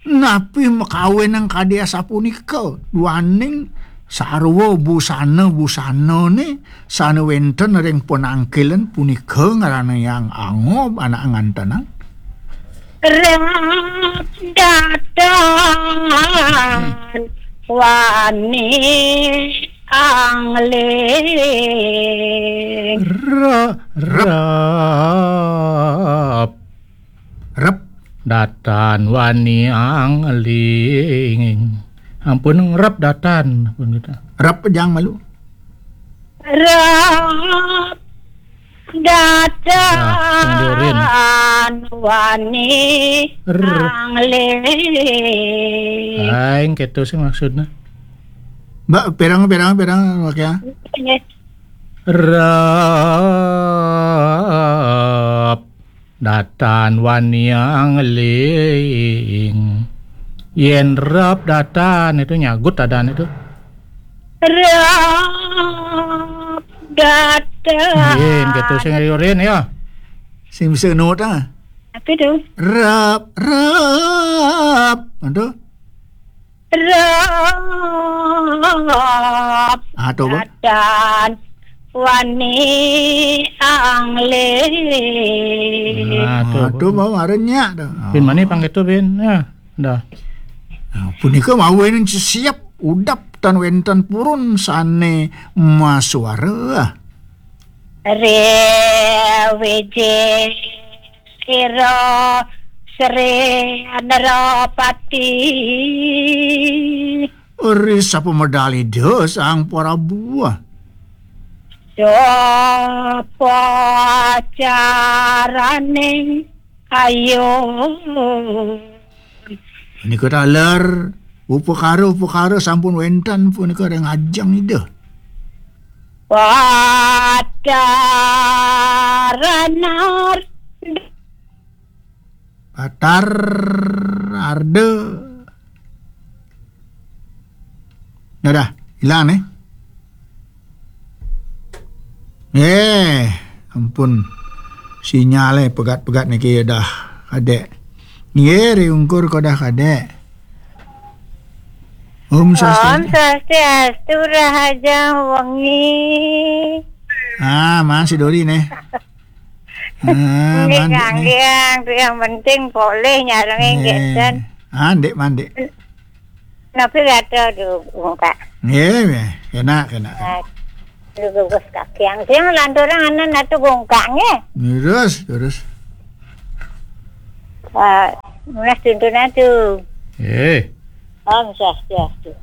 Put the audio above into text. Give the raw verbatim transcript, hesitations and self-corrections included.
Napi makawinang kadi asapunika, duaning sarwa busana-busanane sane wenten ring panangkilen punika ngaranayang angob anak ngantenang? Rap datan wani angling. Ra-, rap. Rep. Datan wani angling. Ampun, ngrep datan. Ampun kita. Rep, jang malu. Rep datan. Nah, yang diorin. Wani R-, angling. Aing, keto sih maksudnya. Mbak, perang, perang, perang, makanya. Rep. Datan wani angling. Yen rep datan itu nyagut adan itu. Rep datan. Yen gitu sing riurin ya. Sing bisa nut ah. Apa itu? Rep, rep. Aduh. Rep. Ah, to, Bang. Datan wani angling. Ah, to, Bang. Aduh, Bang, arenya dah. Bin, mani pangketo, Bin? Ya, dah. Nah, punika mawenen siap udap tan wenten purun sane masuara. Rewiji. Ira Sri Narapati. Ri sapa medal Ida Sang Prabu? Sapa caraning ayo. Menika taler upakara-upakara sampun wenten punika ring ajeng Ida. Patar Arda. Patar Arda. Nah, dah, ilang nih. Eh, ampun. Sinyale pegat-pegat niki dah, Kadek. Nggih, riungkur kok dah, Kadek. Om Swastiastu. Om Swastiastu, Rahajeng Wengi. Ah, masih Dori nih. Ah, nggih, mandek nih. Kang, yang penting polih nyarengin. Nggih. Ngeten. Ah, ndik, mandek. Napi gatra du bungkak? Nggih, nggih. Enak, enak. Ah, lu gugus kaki yang siang lanturang anan atu bungkak nggih. Terus, terus. Ah, nunas tuntun atu. Eh. Om Swastiastu.